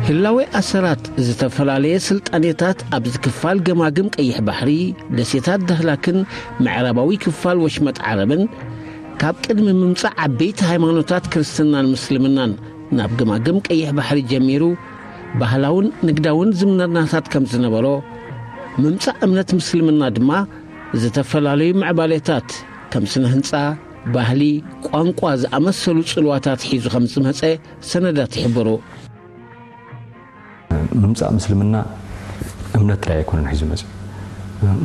ህላዌ ኣሰራት ዝተፈላለየ ስልጣኔታት ኣብዚ ክፋል ገማግም ቀይሕ ባሕሪ፣ ደሴታት ዳህላክን ምዕራባዊ ክፋል ወሽመጥ ዓረብን፣ ካብ ቅድሚ ምምጻእ ዓበይቲ ሃይማኖታት ክርስትናን ምስልምናን ናብ ገማግም ቀይሕ ባሕሪ ጀሚሩ፣ ባህላውን ንግዳውን ዝምድናታት ከም ዝነበሮ፣ ምምጻእ እምነት ምስልምና ድማ ዝተፈላለዩ ምዕባሌታት ከም ስነ ህንጻ፣ ባህሊ፣ ቋንቋ ዝኣመሰሉ ጽልዋታት ሒዙ ከም ዝመጸ ሰነዳት ይሕብሩ። ምምጻእ ምስልምና እምነት ጥራይ ኣይኮነን ሒዙ መጽኡ።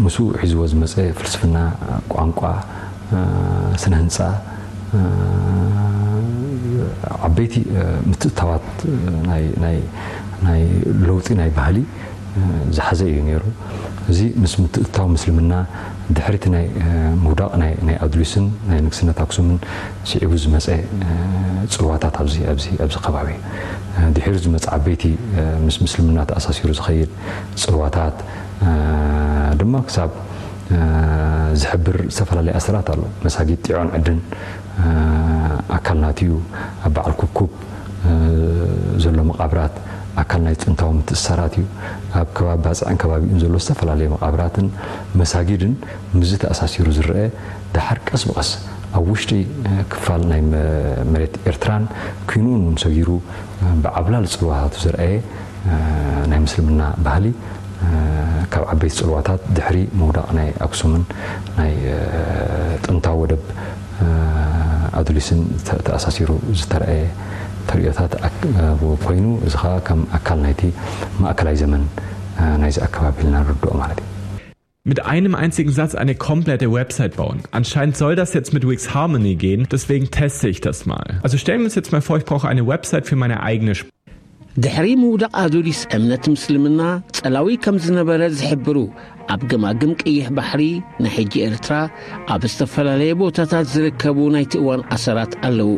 ምስኡ ሒዝዎ ዝመጸ ፍልስፍና፣ ቋንቋ፣ ስነ ህንጻ፣ ዓበይቲ ምትእታዋት ናይ ለውጢ ናይ ባህሊ ዝሓዘ እዩ ነይሩ። እዚ ምስ ምትእታው ምስልምና ድሕሪቲ ናይ ምውዳቕ ናይ ኣዱሊስን ናይ ንግስነት ኣክሱምን ስዒቡ ዝመፀ ፅልዋታት ኣብዚ ኣብዚ ኣብዚ ከባቢ ድሒሩ ዝመፀ ዓበይቲ ምስ ምስልምና ተኣሳሲሩ ዝኸይድ ፅልዋታት ድማ ክሳብ ዝሕብር ዝተፈላለየ ኣሰራት ኣሎ። መሳጊድ ጢዖን ዕድን ኣካል ናትዩ ኣብ በዓል ኩብኩብ ዘሎ መቓብራት ኣካል ናይ ጥንታዊ ምትእስሳራት እዩ። ኣብ ከባቢ ባፅዕን ከባቢኡን ዘሎ ዝተፈላለየ መቓብራትን መሳጊድን ምስዚ ተኣሳሲሩ ዝረአ፣ ደሓር ቀስ ብቐስ ኣብ ውሽጢ ክፋል ናይ መሬት ኤርትራን ኪንኡን እውን ሰጊሩ ብዓብላል ፅልዋታቱ ዘርኣየ ናይ ምስልምና ባህሊ ካብ ዓበይቲ ፅልዋታት ድሕሪ ምውዳቕ ናይ ኣክሱምን ናይ ጥንታዊ ወደብ ኣዱሊስን ተኣሳሲሩ ዝተረኣየ ተርእዮታት ኮይኑ፣ እዚ ከዓ ከም ኣካል ናይቲ ማእከላይ ዘመን ናይዚ ኣከባቢ ኢልና ንርድኦ ማለት እዩ። Mit einem einzigen Satz eine komplette Website bauen. Anscheinend soll das jetzt mit Wix Harmony gehen, deswegen teste ich das mal. Also stellen wir uns jetzt mal vor, ich brauche eine Website für meine eigene Sprache. ድሕሪ ምውዳቕ ኣዱሊስ እምነት ምስልምና ጸላዊ ከም ዝነበረ ዝሕብሩ ኣብ ገማግም ቀይሕ ባሕሪ፣ ናይ ሕጂ ኤርትራ፣ ኣብ ዝተፈላለየ ቦታታት ዝርከቡ ናይቲ እዋን ኣሰራት ኣለዉ።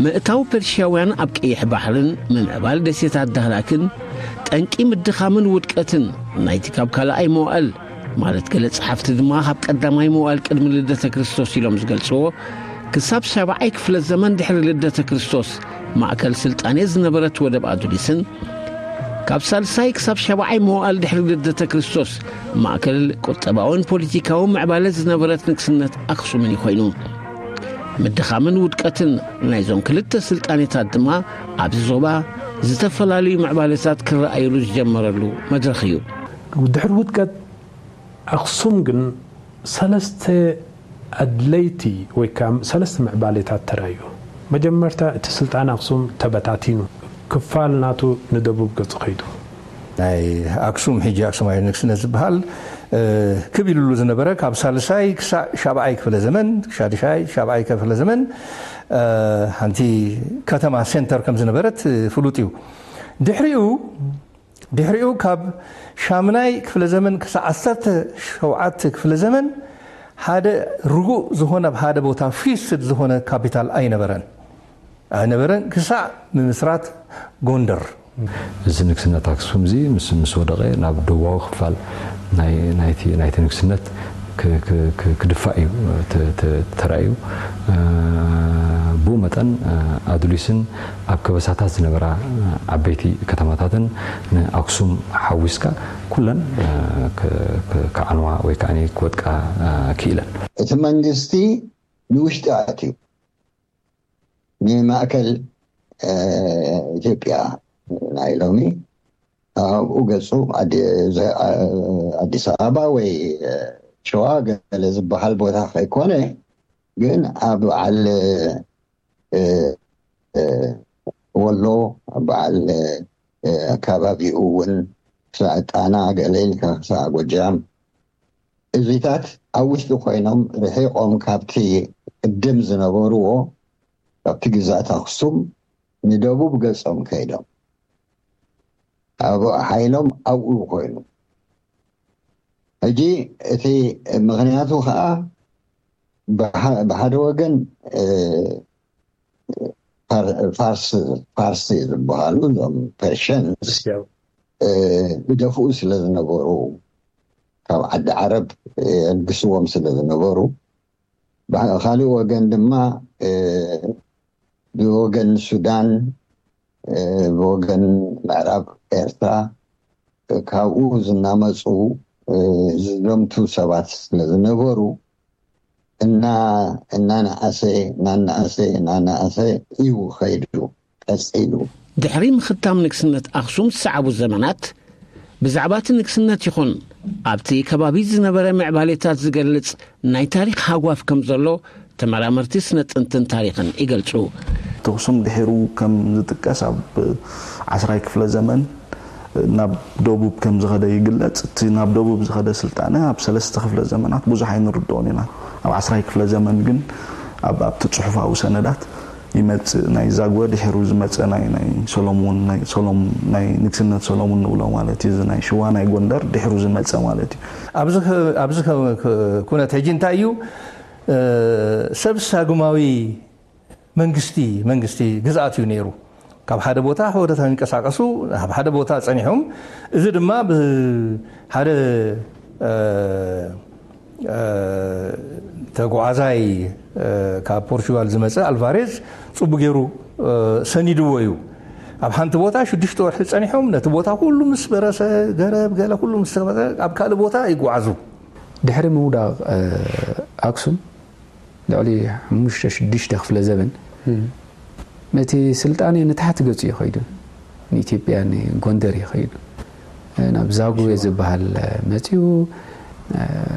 ምእታው ፐርሽያውያን ኣብ ቀይሕ ባሕርን ምምዕባል ደሴታት ዳህላክን ጠንቂ ምድኻምን ውድቀትን ናይቲ ካብ ካልኣይ መዋእል፣ ማለት ገለ ጸሓፍቲ ድማ ካብ ቀዳማይ መዋእል ቅድሚ ልደተ ክርስቶስ ኢሎም ዝገልጽዎ፣ ክሳብ ሻብዓይ ክፍለ ዘመን ድሕሪ ልደተ ክርስቶስ ማእከል ስልጣኔ ዝነበረት ወደብ ኣዱሊስን ካብ ሳልሳይ ክሳብ ሻብዓይ መዋእል ድሕሪ ልደተ ክርስቶስ ማእከል ቁጠባውን ፖለቲካውን ምዕባለ ዝነበረት ንግስነት ኣክሱምን እዩ ኮይኑ። ምድኻምን ውድቀትን ናይዞም ክልተ ስልጣኔታት ድማ ኣብዚ ዞባ ዝተፈላለዩ ምዕባለታት ክረኣዩሉ ዝጀመረሉ መድረኽ እዩ። ድሕሪ ውድቀት ኣኽሱም ግን ሰለስተ ኣድለይቲ ወይ ከዓ ሰለስተ ምዕባሌታት ተራእዩ። መጀመርታ እቲ ስልጣን ኣኽሱም ተበታቲኑ፣ ክፋል ናቱ ንደቡብ ገጹ ከይዱ። ናይ ኣክሱም ሕጂ ኣክሱማዊ ንግስነት ዝበሃል ክብ ኢሉሉ ዝነበረ ካብ ሳልሳይ ክሳዕ ሻብዓይ ክፍለ ዘመን፣ ሻድሻይ ሻብዓይ ክፍለ ዘመን ሓንቲ ከተማ ሴንተር ከም ዝነበረት ፍሉጥ እዩ። ድሕሪኡ ድሕሪኡ ካብ ሻምናይ ክፍለ ዘመን ክሳዕ ዓሰርተ ሸውዓተ ክፍለ ዘመን ሓደ ርጉእ ዝኾነ ኣብ ሓደ ቦታ ፊክስድ ዝኾነ ካፒታል ኣይነበረን ኣይነበረን ክሳዕ ምምስራት ጎንደር። እዚ ንግስነት ኣክሱም እዚ ምስ ምስ ወደቐ ናብ ደቡባዊ ክፋል ናይ ናይቲ ናይቲ ንግስነት ክድፋእ እዩ ተራእዩ። ብኡ መጠን ኣዱሊስን ኣብ ከበሳታት ዝነበራ ዓበይቲ ከተማታትን ንኣክሱም ሓዊስካ ኩለን ክዓንዋ ወይ ከዓ ክወድቃ ክኢለን። እቲ መንግስቲ ንውሽጢ ኣትዩ ንማእከል ኢትዮጵያ ናይ ሎሚ ኣብኡ ገጹ ኣዲስ ኣበባ ወይ ሸዋ ገለ ዝበሃል ቦታ ከይኮነ ግን ኣብ በዓል ወሎ ኣብ በዓል ኣከባቢኡ እውን ክሳዕ ጣና ገለ ኢልካ ክሳዕ ጎጃም እዚታት ኣብ ውሽጢ ኮይኖም ርሒቆም ካብቲ ቅድም ዝነበርዎ ካብቲ ግዛት ኣክሱም ንደቡብ ገጾም ከይዶም ኣብ ሓይሎም ኣብኡ ኮይኑ ሕጂ እቲ ምኽንያቱ ከዓ ብሓደ ወገን ፋርስ ዝበሃሉ እዞም ፐርሽንስ ይደፍኡ ስለ ዝነበሩ ካብ ዓዲ ዓረብ የልግስዎም ስለ ዝነበሩ ብካሊእ ወገን ድማ ብወገን ሱዳን፣ ብወገን ምዕራብ ኤርትራ ካብኡ ዝናመፁ ዝዘምቱ ሰባት ስለ ዝነበሩ፣ እና እናነኣሰ እናነኣሰ እናነኣሰ እዩ ኸይዱ ቀፂሉ። ድሕሪ ምኽታም ንግስነት ኣኽሱም ዝሰዓቡ ዘመናት፣ ብዛዕባ እቲ ንግስነት ይኹን ኣብቲ ከባቢ ዝነበረ ምዕባሌታት ዝገልጽ ናይ ታሪኽ ሃጓፍ ከም ዘሎ ተመራመርቲ ስነ ጥንትን ታሪኽን ይገልጹ። ኣኽሱም ድሒሩ ከም ዝጥቀስ ኣብ ዓስራይ ክፍለ ዘመን ናብ ደቡብ ከም ዝኸደ ይግለጽ። እቲ ናብ ደቡብ ዝኸደ ስልጣነ ኣብ ሰለስተ ክፍለ ዘመናት ብዙሕ ኣይንርድኦን ኢና። ኣብ ዓስራይ ክፍለ ዘመን ግን ኣብ ኣብቲ ጽሑፋዊ ሰነዳት ይመጽእ። ናይ ዛግወ ድሒሩ ዝመጸ ናይ ናይ ሰሎሞን ናይ ሰሎም ናይ ንግስነት ሰሎሞን ንብሎ ማለት እዩ። እዚ ናይ ሽዋ ናይ ጎንደር ድሒሩ ዝመጸ ማለት እዩ። ኣብዚ ከ- ኣብዚ ከ- ከ- ኩነት ሕጂ እንታይ እዩ? እ፣ ሰብ ሳጉማዊ መንግስቲ መንግስቲ ግዝኣት እዩ ነይሩ። ካብ ሓደ ቦታ ሓደ ቦታ ይንቀሳቀሱ፣ ኣብ ሓደ ቦታ ጸኒሖም። እዚ ድማ ብሓደ እ፣ እ፣ ተጓዓዛይ እ፣ ካብ ፖርቹጋል ዝመጸ ኣልቫሬዝ ጽቡቅ ገይሩ እ፣ ሰኒድዎ እዩ። ኣብ ሓንቲ ቦታ ሽዱሽተ ወርሒ ጸኒሖም ነቲ ቦታ ኩሉ ምስ በረሰ፣ ገረብ ገለ ኩሉ ምስ ተበረ ኣብ ካልእ ቦታ ይጓዓዙ። ድሕሪ ምውዳቕ እ፣ ኣክሱም ልዕሊ ሓሙሽተ ሽዱሽተ ክፍለ ዘበን እቲ ስልጣኔ ንታሕቲ ገጹ እዩ ከይዱ። ንኢትዮጵያ ንጎንደር እዩ ከይዱ። ናብ ዛጉዌ ዝበሃል መጺኡ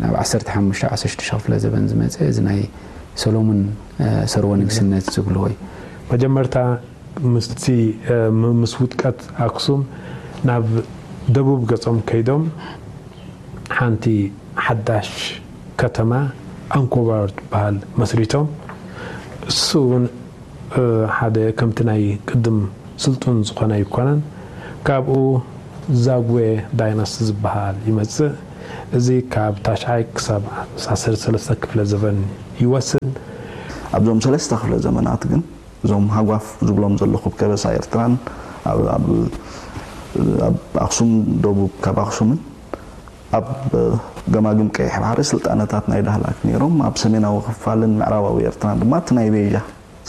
ናብ ዓሰርተ ሓሙሽተ ዓሰርተ ሽዱሽተ ክፍለ ዘበን ዝመጸ እዚ ናይ ሰሎሙን ሰርወ ንግስነት ዝብልዎ እዩ። መጀመርታ ምስቲ ም- ምስ ውድቀት ኣክሱም ናብ ደቡብ ገጾም ከይዶም ሓንቲ ሓዳሽ ከተማ ኣንኮባር ትበሃል መስሪቶም። እሱ እውን እ፣ ሓደ ከምቲ ናይ ቅድም ስልጡን ዝኾነ ኣይኮነን። ካብኡ ዛጉዌ ዳይናስቲ ዝበሃል ይመጽእ። እዚ ካብ ታሽዓይ ክሳብ ዓሰርተ ሰለስተ ክፍለ ዘበን ይወስድ። ኣብዞም ሰለስተ ክፍለ ዘመናት ግን እዞም ሃጓፍ ዝብሎም ዘለኹ ከበሳ ኤርትራን ኣብ ኣብ ኣብ ኣኽሱም ደቡብ ካብ ኣኽሱምን ኣብ ገማግም ቀይሕ ባሕሪ ስልጣነታት ናይ ዳህላክ ነይሮም። ኣብ ሰሜናዊ ክፋልን ምዕራባዊ ኤርትራን ድማ እቲ ናይ ቤጃ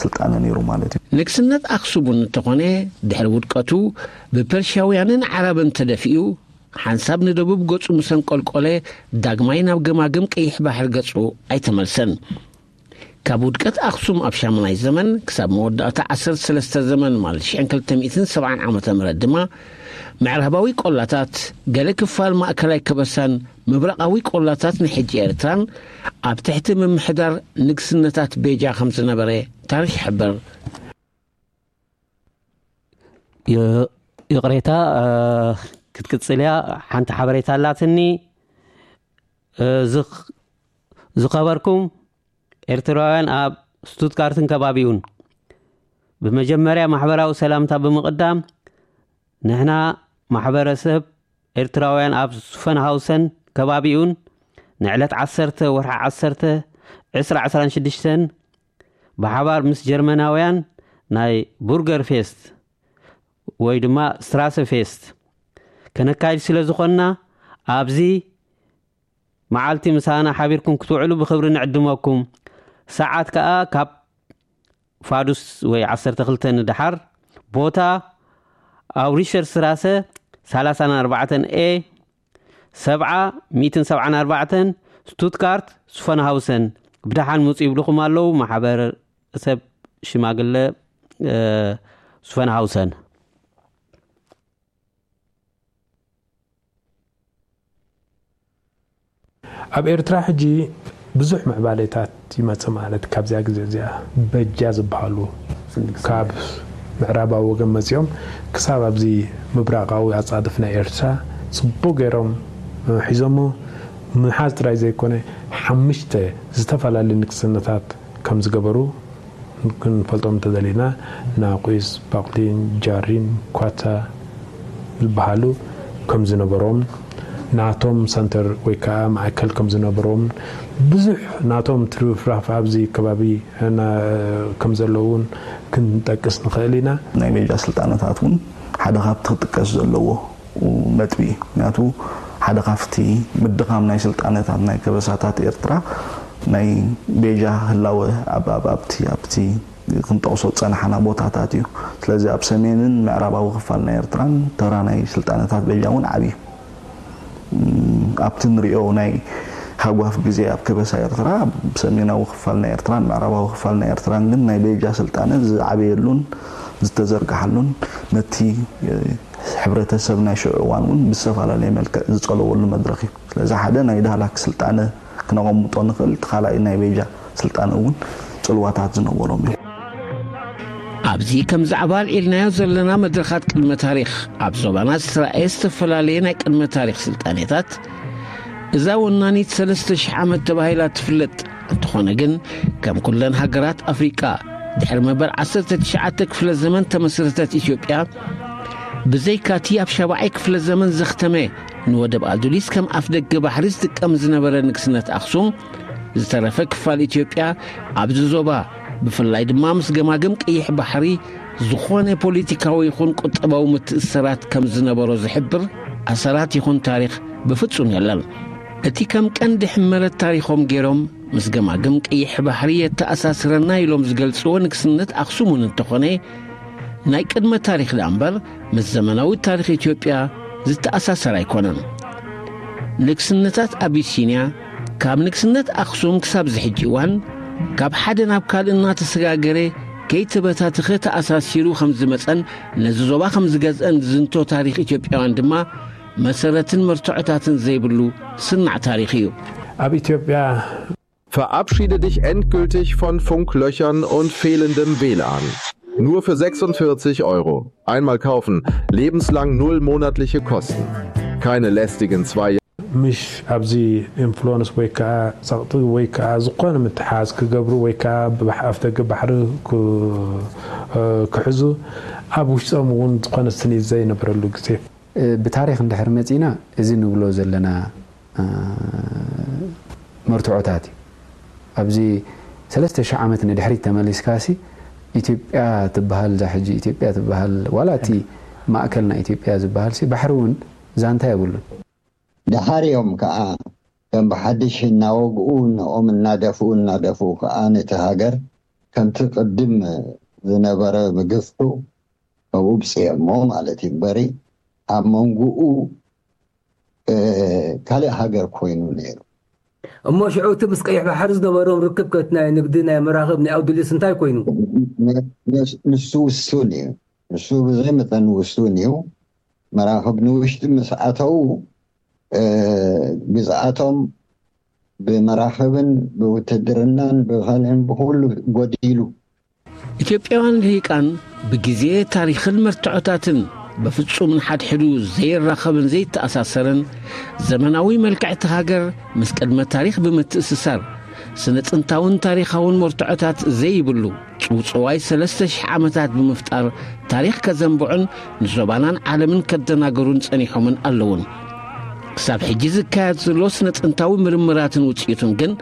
ስልጣነ ነይሩ ማለት እዩ። ንግስነት ኣኽሱም እውን እንተኾነ ድሕሪ ውድቀቱ ብፐርሽያውያንን ዓረብን ተደፊኡ ሓንሳብ ንደቡብ ገጹ ምስ ኣንቆልቆለ ዳግማይ ናብ ገማግም ቀይሕ ባሕሪ ገጹ ኣይተመልሰን። ካብ ውድቀት ኣኽሱም ኣብ ሻሙናይ ዘመን ክሳብ መወዳእታ ዓሰርተ ሰለስተ ዘመን ማለት ሽሕን ክልተ ሚእትን ሰብዓን ዓመተ ምህረት ድማ ምዕራባዊ ቆላታት፣ ገለ ክፋል ማእከላይ ከበሳን ምብራቓዊ ቆላታት ናይ ሕጂ ኤርትራን ኣብ ትሕቲ ምምሕዳር ንግስነታት ቤጃ ከም ዝነበረ ታሪኽ ይሕብር። ይ- ይቕሬታ እ፣ ክትቅጽል እያ። ሓንቲ ሓበሬታ ኣላትኒ። እ፣ ዝኽ- ዝኸበርኩም ኤርትራውያን ኣብ ስቱትጋርትን ከባቢኡን፣ ብመጀመርያ ማሕበራዊ ሰላምታ ብምቕዳም፣ ንሕና ማሕበረሰብ ኤርትራውያን ኣብ ሱፈንሃውሰን ከባቢኡን ንዕለት ዓሰርተ ወርሒ ዓሰርተ ዕስራ ዕስራን ሽዱሽተን ብሓባር ምስ ጀርመናውያን ናይ ቡርገር ፌስት ወይ ድማ ስትራሰ ፌስት ከነካይድ ስለ ዝኾንና ኣብዚ መዓልቲ ምሳና ሓቢርኩም ክትውዕሉ ብኽብሪ ንዕድመኩም። ሰዓት ከኣ ካብ ፋዱስ ወይ ዓሰርተ ክልተ ንደሓር፣ ቦታ ኣውሪሸር ስትራሰ ሰላሳን ኣርባዕተን ኤ ሰብዓ ሚእትን ሰብዓን ኣርባዕተን ስቱትጋርት ሱፈንሃውሰን። ብደሓን ምጹ ይብልኹም ኣለዉ ማሕበረሰብ ሽማግለ እ፣ ሱፈንሃውሰን። ኣብ ኤርትራ ሕጂ ብዙሕ ምዕባሌታት ይመጽእ ማለት ካብዚኣ ግዜ እዚኣ በጃ ዝበሃሉ ካብ ምዕራባዊ ወገን መጺኦም ክሳብ ኣብዚ ምብራቓዊ ኣጻድፍ ናይ ኤርትራ ጽቡቕ ገይሮም ሒዞሞ ምሓዝ ጥራይ ዘይኮነ ሓሙሽተ ዝተፈላለዩ ንግስነታት ከም ዝገበሩ ክንፈልጦም እንተደሊና ናቑስ፣ ባቕሊን፣ ጃሪን፣ ኳታ ዝበሃሉ ከም ዝነበሮም ናቶም ሰንተር ወይ ከዓ ማእከል ከም ዝነበሮም ብዙሕ ናቶም ትርፍራፍ ኣብዚ ከባቢ ና- ከም ዘለውን ክንጠቅስ ንኽእል ኢና። ናይ ቤጃ ስልጣነታት እውን ሓደ ካብቲ ክጥቀስ ዘለዎ ነጥቢ እዩ። ምክንያቱ ሓደ ካብቲ ምድኻም ናይ ስልጣነታት ናይ ከበሳታት ኤርትራ ናይ ቤጃ ህላወ ኣብ ኣብ ኣብቲ ኣብቲ ክንጠቕሶ ዝጸናሕና ቦታታት እዩ። ስለዚ ኣብ ሰሜንን ምዕራባዊ ክፋል ናይ ኤርትራን ተራ ናይ ስልጣነታት በጃ እውን ዓብዩ። እም፣ ኣብቲ ንሪኦ ናይ ሃጓፍ ግዜ ኣብ ከበሳ ኤርትራ፣ ኣብ ሰሜናዊ ክፋል ናይ ኤርትራን ምዕራባዊ ክፋል ናይ ኤርትራን ግን ናይ በጃ ስልጣነ ዝዓበየሉን ዝተዘርግሓሉን፣ ነቲ፣ እ፣ ሕብረተሰብ ናይ ሽዑ እዋን እውን ብዝተፈላለየ መልክዕ ዝጸለወሉ መድረኽ እዩ። ስለዚ ሓደ ናይ ዳህላክ ስልጣነ ክነቐምጦ ንኽእል፣ እቲ ካልኣይ ናይ በጃ ስልጣነ እውን ጽልዋታት ዝነበሮም እዮም። ኣብዚ ከም ዛዕባ ኣልዒልናዮ ዘለና መድረኻት ቅድመ ታሪኽ ኣብ ዞባና ዝተራእየ ዝተፈላለየ ናይ ቅድመ ታሪኽ ስልጣኔታት፣ እዛ ወናኒት ሰለስተ ሽሕ ዓመት ተባሂላ ትፍለጥ። እንተኾነ ግን ከም ኩለን ሃገራት ኣፍሪቃ ድሕሪ መበል ዓሰርተ ትሽዓተ ክፍለ ዘመን ተመስረተት ኢትዮጵያ፣ ብዘይካቲ ኣብ ሻብዓይ ክፍለ ዘመን ዘኽተመ ንወደብ ኣዱሊስ ከም ኣፍደገ ባሕሪ ዝጥቀም ዝነበረ ንግስነት ኣኽሱም፣ ዝተረፈ ክፋል ኢትዮጵያ ኣብዚ ዞባ ብፍላይ ድማ ምስ ገማግም ቀይሕ ባሕሪ ዝኾነ ፖለቲካዊ ይኹን ቁጠባዊ ምትእስሳራት ከም ዝነበሮ ዝሕብር ኣሰራት ይኹን ታሪኽ ብፍጹም የለን። እቲ ከም ቀንዲ ሕመረት ታሪኾም ገይሮም ምስ ገማግም ቀይሕ ባሕሪ የተኣሳስረና ኢሎም ዝገልጽዎ ንግስነት ኣኽሱም እውን እንተኾነ፣ ናይ ቅድመ ታሪኽ ደኣ እምበር ምስ ዘመናዊ ታሪኽ ኢትዮጵያ ዝተኣሳሰር ኣይኮነን። ንግስነታት ኣቢሲንያ ካብ ንግስነት ኣኽሱም ክሳብ ዝሕጂ እዋን ካብ ሓደ ናብ ካልእ እናተሰጋገረ ከይተበታተኸ ተኣሳሲሩ ከም ዝመጸን ነዚ ዞባ ከም ዝገዝአን ዝዝንቶ ታሪኽ ኢትዮጵያውያን ድማ መሰረትን መርትዖታትን ዘይብሉ ስናዕ ታሪኽ እዩ። ኣብ ኢትዮጵያ Verabschiede dich endgültig von Funklöchern und fehlendem W L A N. Nur für sechsundvierzig Euro. Einmal kaufen, lebenslang null monatliche Kosten. Keine lästigen zwei ምሽ ኣብዚ ኢንፍሉወንስ ወይ ከዓ ጸቕጢ ወይ ከዓ ዝኾነ ምትሓዝ ክገብሩ ወይ ከዓ ብኣፍደገ ባሕሪ ክሕዙ ኣብ ውሽጦም እውን ዝኾነ ስኒት ዘይነበረሉ ግዜ። ብታሪኽ እንድሕር መጺና እዚ ንብሎ ዘለና መርትዖታት እዩ። ኣብዚ ሰለስተ ሽሕ ዓመት ንድሕሪት ተመሊስካሲ ኢትዮጵያ ትበሃል እዛ ሕጂ ኢትዮጵያ ትበሃል ዋላ እቲ ማእከል ናይ ኢትዮጵያ ዝበሃል ሲ ባሕሪ እውን ዛንታ የብሉን። ድሓር እዮም ከዓ ከም ብሓድሽ እናወግኡ ንኦም እናደፍኡ እናደፍኡ ከዓ ነቲ ሃገር ከምቲ ቅድም ዝነበረ ምግፍሑ ኣብኡ ብፅየሞ ማለት እዩ እምበሪ ኣብ መንጎኡ ካልእ ሃገር ኮይኑ ነይሩ። እሞ ሽዑ እቲ ምስ ቀይሕ ባሕሪ ዝነበሮም ርክብ ከቲ ናይ ንግዲ ናይ መራኽብ ናይ ኣውዱሊስ እንታይ ኮይኑ? ንሱ ውሱን እዩ። ንሱ ብዘይ መጠን ውሱን እዩ። መራኽብ ንውሽጢ ምስ ኣተዉ ግዝኣቶም ብመራኽብን ብውትድርናን ብኻልእን ብኩሉ ጎዲሉ። ኢትዮጵያውያን ልሂቃን ብግዜ ታሪኽን መርትዖታትን ብፍጹም ንሓድሕዱ ዘይራኸብን ዘይተኣሳሰርን ዘመናዊ መልክዕቲ ሃገር ምስ ቅድመ ታሪኽ ብምትእስሳር ስነ ጥንታውን ታሪኻውን መርትዖታት ዘይብሉ ጽውጽዋይ ሰለስተ ሽሕ ዓመታት ብምፍጣር ታሪኽ ከዘንብዑን ንዞባናን ዓለምን ከደናገሩን ጸኒሖምን ኣለውን። ክሳብ ሕጂ ዝካየድ ዘሎ ስነ ጥንታዊ ምርምራትን ውጽኢቱን ግን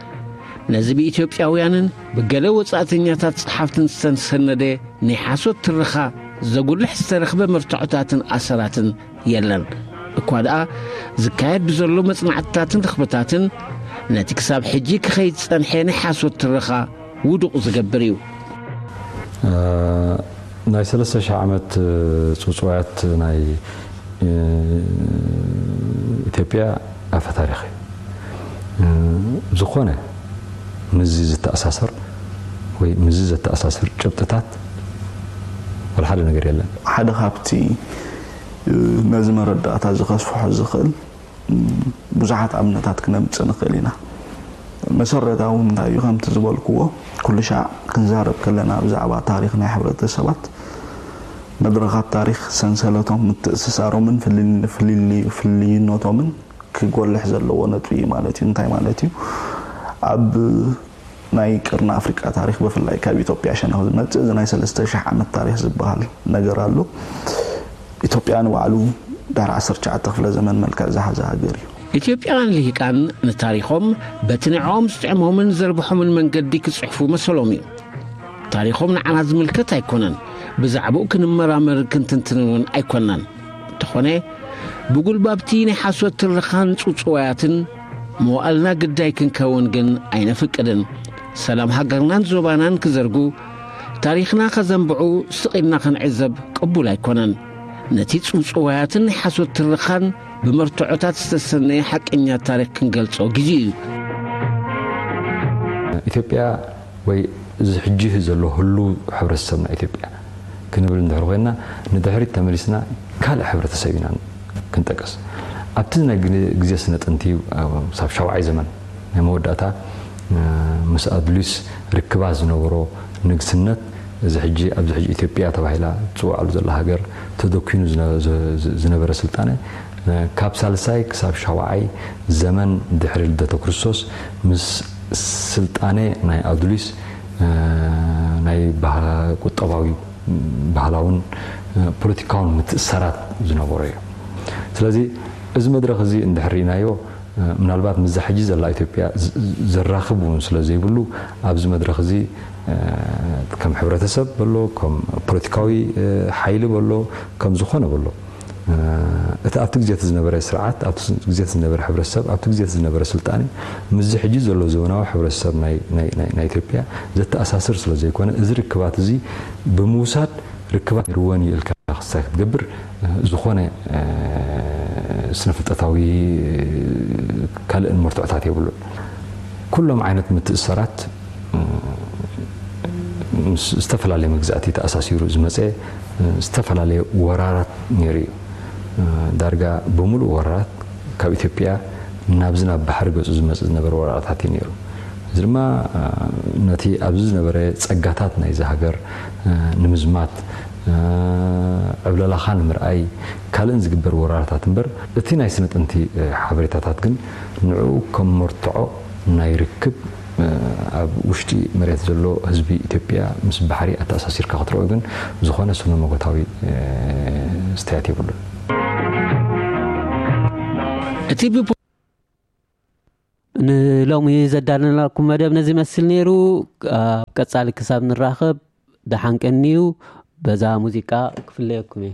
ነዚ ብኢትዮጵያውያንን ብገለ ወጻእተኛታት ጸሓፍትን ዝተሰነደ ናይ ሓሶት ትረኻ ዘጉልሕ ዝተረኽበ መርትዖታትን ኣሰራትን የለን። እኳ ደኣ ዝካየድ ብዘሎ መጽናዕትታትን ርኽብታትን ነቲ ክሳብ ሕጂ ክኸይድ ዝጸንሐ ናይ ሓሶት ትረኻ ውዱቕ ዝገብር እዩ። ናይ ሰለስተ ሽሕ ዓመት ጽውጽዋያት ናይ ኢትዮጵያ ኣፈ ታሪኽ እዩ። ዝኾነ ምዚ ዝተኣሳሰር ወይ ምዚ ዘተኣሳስር ጭብጥታት ወላ ሓደ ነገር የለን። ሓደ ካብቲ ነዚ መረዳእታ እዚ ከስፍሖ ዝኽእል ብዙሓት ኣብነታት ክነምጽእ ንኽእል ኢና። መሰረታዊ እንታይ እዩ? ከምቲ ዝበልክዎ ኩሉ ሻዕ ክንዛረብ ከለና ብዛዕባ ታሪኽ ናይ ሕብረተሰባት መድረኻት ታሪኽ ሰንሰለቶም ምትእስሳሮምን ፍልልይነቶምን ክጎልሕ ዘለዎ ነጥቢ እዩ ማለት እዩ። እንታይ ማለት እዩ? ኣብ ናይ ቅርኒ ኣፍሪቃ ታሪኽ ብፍላይ ካብ ኢትዮጵያ ሸነኽ ዝመጽእ እዚ ናይ ሰለስተ ሽሕ ዓመት ታሪኽ ዝበሃል ነገር ኣሎ። ኢትዮጵያ ንባዕሉ ድሕሪ ዓሰርተ ትሽዓተ ክፍለ ዘመን መልክዕ ዝሓዘ ሃገር እዩ። ኢትዮጵያውያን ልሂቃን ንታሪኾም በቲ ንዕኦም ዝጥዕሞምን ዘርብሖምን መንገዲ ክጽሕፉ መሰሎም እዩ። ታሪኾም ንዓና ዝምልከት ኣይኮነን። ብዛዕባኡ ክንመራመርን ክንትንትንን እውን ኣይኮናን። እንተኾነ ብጉልባብቲ ናይ ሓሶት ትረኻን ጽውጽዋያትን መዋእልና ግዳይ ክንከውን ግን ኣይነፍቅድን። ሰላም ሃገርናን ዞባናን ክዘርጉ ታሪኽና ከዘንብዑ ስቕ ኢልና ክንዕዘብ ቅቡል ኣይኮነን። ነቲ ጽውጽዋያትን ናይ ሓሶት ትርኻን ብመርትዖታት ዝተሰነየ ሓቀኛ ታሪኽ ክንገልጾ ግዜ እዩ። ኢትዮጵያ ወይ እዚ ሕጂ ዘሎ ህሉ ሕብረተሰብና ኢትዮጵያ ክንብል እንድሕር ኮይና፣ ንድሕሪት ተመሊስና ካልእ ሕብረተሰብ ኢና ክንጠቀስ። ኣብቲ ናይ ግዜ ስነ ጥንቲ ክሳብ ሻውዓይ ዘመን ናይ መወዳእታ ምስ ኣድሊስ ርክባ ዝነበሮ ንግስነት፣ እዚ ሕጂ ኣብዚ ሕጂ ኢትዮጵያ ተባሂላ ትፅዋዕሉ ዘላ ሃገር፣ ተደኪኑ ዝነበረ ስልጣነ ካብ ሳልሳይ ክሳብ ሻውዓይ ዘመን ድሕሪ ልደተ ክርስቶስ ምስ ስልጣነ ናይ ኣዱሊስ ናይ ቁጠባዊ፣ ባህላውን ፖለቲካውን ምትእሰራት ዝነበሮ እዩ። ስለዚ እዚ መድረኽ እዚ እንድሕር ርኢናዮ፣ ምናልባት ምስዛ ሕጂ ዘላ ኢትዮጵያ ዘራኽብ እውን ስለ ዘይብሉ፣ ኣብዚ መድረኽ እዚ ከም ሕብረተሰብ በሎ፣ ከም ፖለቲካዊ ሓይሊ በሎ፣ ከም ዝኾነ በሎ፣ እቲ ኣብቲ ግዜ ዝነበረ ስርዓት፣ ኣብቲ ግዜ ዝነበረ ሕብረተሰብ፣ ኣብቲ ግዜ ዝነበረ ስልጣነ ምስዚ ሕጂ ዘሎ ዘበናዊ ሕብረተሰብ ናይ ኢትዮጵያ ዘተኣሳስር ስለ ዘይኮነ፣ እዚ ርክባት እዚ ብምውሳድ ርክባት ርወን ይእልካ ክሳይ ክትገብር ዝኾነ ስነፍልጠታዊ ካልእን መርትዖታት የብሉን። ኩሎም ዓይነት ምትእሰራት ምስ ዝተፈላለየ መግዛእቲ ተኣሳሲሩ ዝመፀ ዝተፈላለየ ወራራት ነይሩ እዩ። ዳርጋ ብምሉእ ወራራት ካብ ኢትዮጵያ ናብዚ ናብ ባሕሪ ገፁ ዝመፅእ ዝነበረ ወራራታት እዩ ነይሩ። እዚ ድማ ነቲ ኣብዚ ዝነበረ ፀጋታት ናይዚ ሃገር ንምዝማት፣ ዕብለላኻ ንምርኣይ ካልእን ዝግበር ወራራታት እምበር፣ እቲ ናይ ስነ ጥንቲ ሓበሬታታት ግን ንዕኡ ከም መርትዖ ናይ ርክብ ኣብ ውሽጢ መሬት ዘሎ ህዝቢ ኢትዮጵያ ምስ ባሕሪ ኣተኣሳሲርካ ክትረኦ ግን ዝኾነ ስነ መጎታዊ ስተያት የብሉን። እቲ ብ ንሎሚ ዘዳለናኩም መደብ ነዚ መስል ነይሩ። ኣብ ቀጻሊ ክሳብ ንራኸብ ደሓን ቀንዩ። በዛ ሙዚቃ ክፍለየኩም እየ።